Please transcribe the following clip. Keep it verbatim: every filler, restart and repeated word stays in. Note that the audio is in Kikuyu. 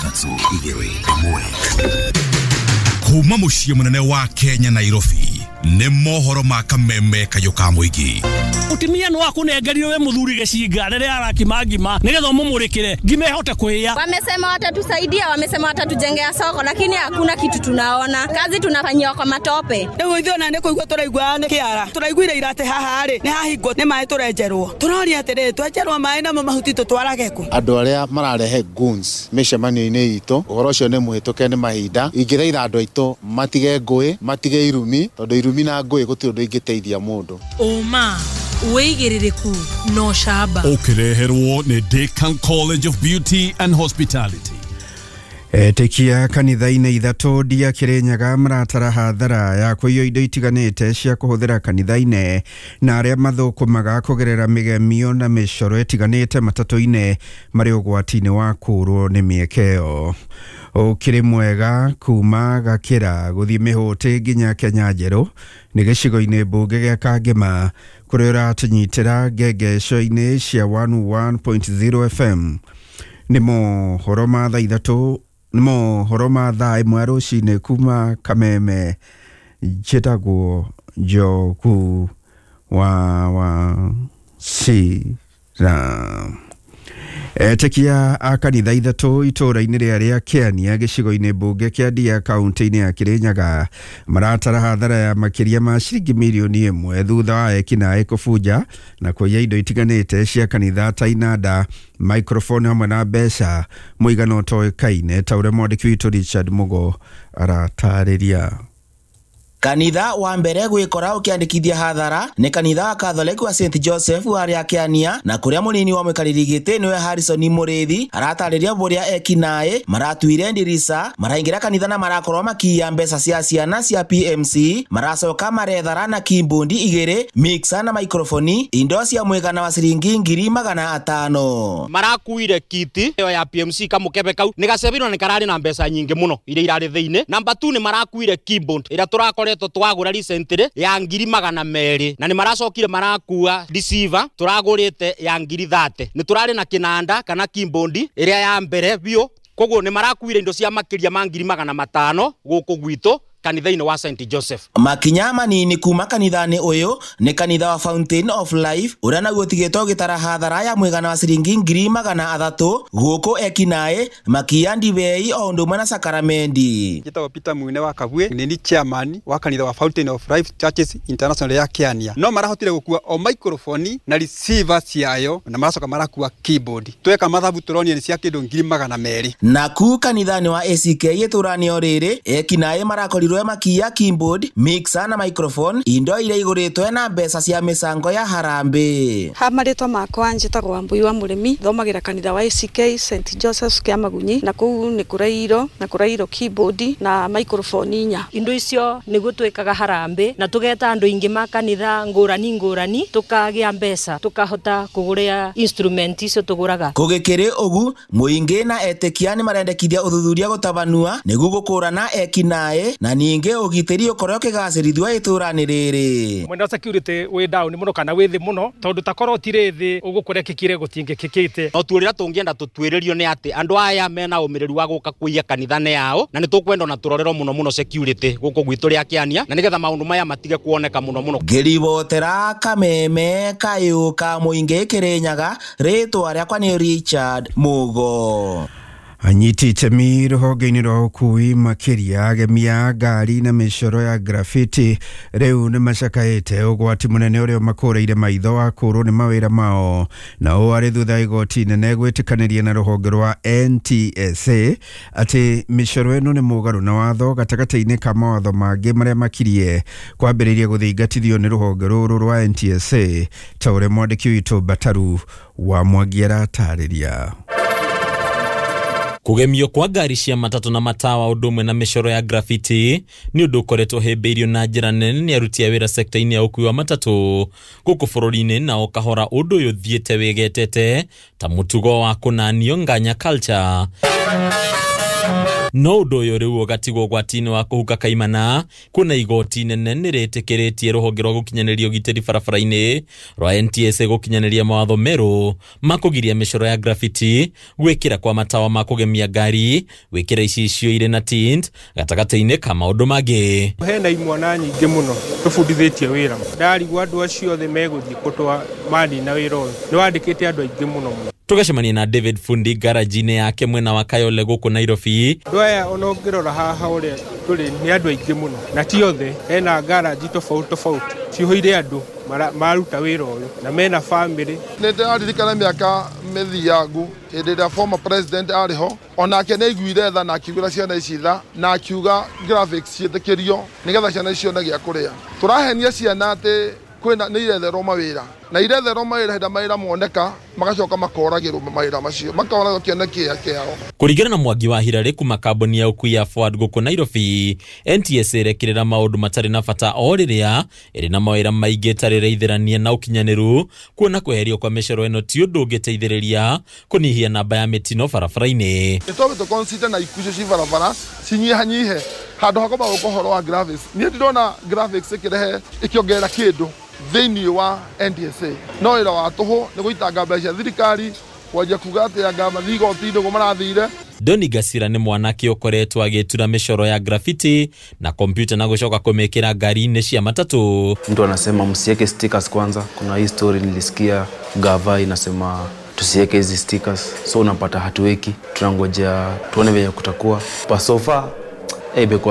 Ithatũ, igĩrĩ, ĩmwe. Kuma mũciĩ mũnene wa Kenya, Nairobi, nĩ mohoro ma Kameme kayũ ka mũingĩ. Mutumia no akunengerire we muthuri gicinga riria arakima ngima nigetha umumurikire ngima ihote kuhia. Wamesema watatusaidia, wamesema watatujengea soko, lakini hakuna kitu tunaona. Kazi tunafanyiwa kwa matope. Riu ithuĩ ona nĩ kũigua tũraigua nĩ kĩara. Tũraiguire ira atĩ haha rĩ nĩ hahingwo nĩ maĩ tũrenjerwo. Tũroria atĩrĩrĩ, twenjerwo maĩ namo mahuti tũtwarage kũ? Andũ arĩa mararehe goons mĩcemanio-inĩ itũ, ũhoro ũcio nĩ mũhĩtũke nĩ mahinda. Ingĩthaitha andũ aitũ matige ngũĩ, matige irumi, tondũ irumi na ngũĩ gũtirĩ ũndũ ingĩteithia mũndũ. Ũma wĩigĩrĩrĩku no camba. Ũkĩreherwo nĩ Decan College of Beauty and Hospitality. Etĩkia kanitha-inĩ ithatũ ndia Kĩrĩnyaga maratara hathara ya kũiywo indo itiganĩte cia kũhũthĩra kanitha-inĩ na arĩa mathũkũmaga kũgerera mĩgemio na mĩcoro ĩtiganĩte matatũ-inĩ marĩ ũgwati-inĩ wa kũũrwo nĩ mĩeke ĩyo. Ũkĩrĩ mwega kuma Gakĩra gũthiĩ Mĩhũtĩ nginya Kenya Njerũ nĩ gĩcigo-inĩ mbunge gĩa Kangema kũrĩa ũratũnyitĩra ngengeco-inĩ cia one one point zero F M. Nĩ mohoro ma thaa ithatũ, nĩ mohoro ma thaa ĩmwe rũcinĩ kuma Kameme. Njĩtagwo Njogu wa Wachira. Etĩkia a kanitha ithatũ itũũra-inĩ rĩa rĩa Kĩania gĩcigo-inĩ mbunge kĩa Ndia kaunti-inĩ ya Kĩrĩnyaga maratara hathara ya makĩria ma ciringi mirioni ĩmwe thutha wa ekinaĩ kũbunja na kũiya indo itiganĩte cia kanitha ta inanda, microphone hamwe na mbeca mũigana ũtoĩkaine ta ũrĩa mwandĩki witũ Richard Mugo aratarĩria. Kanitha wa mbere gwikora ukiandikithia hathara ni kanitha wa Catholic wa Saint Joseph wa Kĩania na kuria munini wa mwikariri giti niwe Harrison Murithi aratariria buria ekinaĩ maratuire ndirisa maraingira kanitha na marakorwo makiya mbeca cia ciana cia P M C maracoka marethara na keyboard igiri mixer na microphone indo cia mwigana wa ciringi ngiri magana atano. Marakuire kiti iyo ya P M C kamukebe kau ni gacebirwo ni karari na mbeca nyingi muno iria irari thiini. Number two ni marakuire keyboard ira turakore twagura recently ya ngiri magana meri na ni maracokire marakua receiver turagurite ya ngiri thate ni turari na kinanda kana keyboard iria ya mbere biũ koguo ni marakuire indo cia makiria ma ngiri magana matano guku gwitu kanitha-inĩ wa Saint Joseph. Makinya manini kuma kanitha-inĩ ũyũ nĩ kanitha wa Fountain of Life ũrĩa naguo ũtigĩtwo ũgĩtara hathara ya mũigana wa ciringi ngiri magana athatũ gũkũ ekinaĩ makiya ndibei o ũndũ ũmwe na sakaramendi. Njĩtagwo Peter Mwine wa Kabwe, nĩ ni chairman wa kanitha wa Fountain of Life Churches International ya Kĩania. No marahotire gũkua o microphone na receiver ciayo na maracoka marakua keyboard. Tweka mathabu tũronire nĩ cia kĩndũ ngiri magana merĩ. Naku kanitha-inĩ wa A C K itũra-inĩ o rĩrĩ ekinaĩ marakorirwo makiya keyboard, mixer na microphone indo iria igũrĩtwo na mbeca cia mĩcango ya harambĩ. Ha marĩtwa makwa njĩtagwo Wambui wa Mũrĩmi, thomagĩra kanitha wa A C K Saint Joseph kĩa Magunyi na kũu nĩ kũrairwo na kũrairwo keyboard na microphone inya. Indo icio nĩguo twĩkaga harambĩ na tũgeta andũ aingĩ ma kanitha ngũrani ngũrani tũkagĩa mbeca tũkahota kũgũra instrument icio tũgũraga. Kũgĩkĩrĩ ũgu mũingĩ na etĩkia nĩ marendekithia ũthuthuria gũtabanua nĩguo gũkũrana ekinaĩ na ningĩ ũgitĩri ũkorwo ũkĩgacĩrithio itũra-inĩ rĩrĩ. Mwena wa security wĩ down mũno kana wĩ thĩ mũno tondũ takorwo tirĩ thĩ ũguo kũrekĩkire gũtingĩkĩkĩte. No tuĩrĩra tũngĩenda tũtuĩrĩrio nĩ atĩ andũ aya mena ũmĩrĩru wa gũka kũiya kanitha-inĩ yao na nĩ tũkwenda ona tũrorerwo mũno mũno security gũkũ gwitũ rĩa Kĩania na nĩgetha maũndũ maya matige kuoneka mũno mũno. Ngĩribotera Kameme kayũ ka mũingĩ Kĩrĩnyaga, rĩtwa rĩakwa nĩ Richard Mugo. Anyiti itemi rũhonge-inĩ rwa ũkui makĩria agemia ngari na mĩcoro ya graffiti rĩu nĩ macakaĩte ũgwati mũnene ũrĩa ũmakũrĩire maitho wa kũũrwo nĩ mawĩra mao na ũũ arĩ thutha igoti nene gwĩtĩkanĩria na rũhonge rwa N T S A atĩ mĩcoro ĩno nĩ mũgarũ na watho gatagatĩ-inĩ ka mawatho mangĩ marĩa makirie kwambĩrĩria gũthingatithio nĩ rũhonge rũrũ rwa N T S A ta ũrĩa mwandĩki witũ Bataru wa Mwangi aratarĩria. Kugemio kwa ngari cia matatũ na matawa ũndũ ũmwe na mĩcoro ya graffiti nĩ ũndũ ũkoretwo hĩmbĩirio na njĩra nene nĩ aruti a wĩra sekta-inĩ ya ũkui wa matatũ gũkũ bũrũri-inĩ na o kahora ũndũ ũyũ ũthiĩte wĩgetete ta mũtugo wa kũnanio nganya culture. No ũndũ ũyũ rĩu ũgatigwo ũgwati-inĩ wa kũhuka kaimana kuona igoti nene nĩrĩtĩkĩrĩtie rũhonge rwa gũkinyanĩria ũgitĩri barabara-inĩ rwa N T S A gũkinyanĩria mawatho merũ ma kũgiria mĩcoro ya graffiti, gwĩkĩra kwa matawa ma kũgemia ngari, gwĩkĩra icicio irĩ na tint gatagatĩ-inĩ ka maũndũ mangĩ. Hena imwana nyingĩ mũno tũbundithĩtie wĩra, ndarigwo andũ acio othe megũthiĩ kũtwa manina wĩra ũyũ, nĩwandĩkĩte andũ aingĩ mũno mũno. Tũgacemania na David Fundi garaji-inĩ yake mwena wa Kayole gũkũ Nairobi. Andũ aya ona ũngĩrora haha ũrĩa tũrĩ nĩ andũ aingĩ mũno, na ti othe, hena garaji tofauti tofauti cihũire andũ maruta wĩra ũyũ na mena famĩlĩ. Nĩ ndĩraririkana mĩaka mĩthiangu hĩndĩ ĩrĩa former president arĩ ho, onake nĩ aiguire tha na akiugĩra ciana ici tha na akiuga graphics ciĩtĩkĩrio nĩgetha ciana ici cione gĩa kũrĩa. Tũrahenia ciana atĩ kwĩna nĩ iretherwo mawĩra na iretherwo mawĩra hĩndĩ mawĩra moneka magacoka makoragĩrwo mawĩra macio makoragwo kĩoneki kĩao. Kũringana na Mwangi wa Hirarĩ kuma kambuni ya ũkui ya Forward gũkũ Nairobi, N T S A ĩrekĩrĩra maũndũ matarĩ na bata o rĩrĩa ĩrĩ na mawĩra maingĩ ĩtarĩ ĩraithĩrania na ũkinyanĩru, kuona kweherio kwa mĩcoro ĩno ti ũndũ ũngĩteithĩrĩria kũnyihia namba ya mĩtino barabara-inĩ. Nĩtwambe tũ-consider na ikuũ icio ci barabara cinyihanyihe handũ ha kwamba gũka ũhoro wa graphics. Niĩ ndirona graphics ĩkĩrehe ĩkĩongerera kĩndũ thĩinĩ wa N T S A, no wĩra wa tũhũ nĩ gũitanga mbeca cia thirikari kwanjia kuga atĩ anga mathiĩ igoti-inĩ ũguo marathire. Doni Gasira nĩ mwanake ũkoretwo agĩtura mĩcoro ya graffiti na kompyuta na gũcoka kũmĩkĩra ngari-inĩ cia matatũ. Mtu anasema msiweke stickers kwanza. Kuna hii story nilisikia gava inasema tusiweke hizi stickers, so unapata hatuweki, tunangojea tuone venye kutakuwa. But so far eh, imekuwa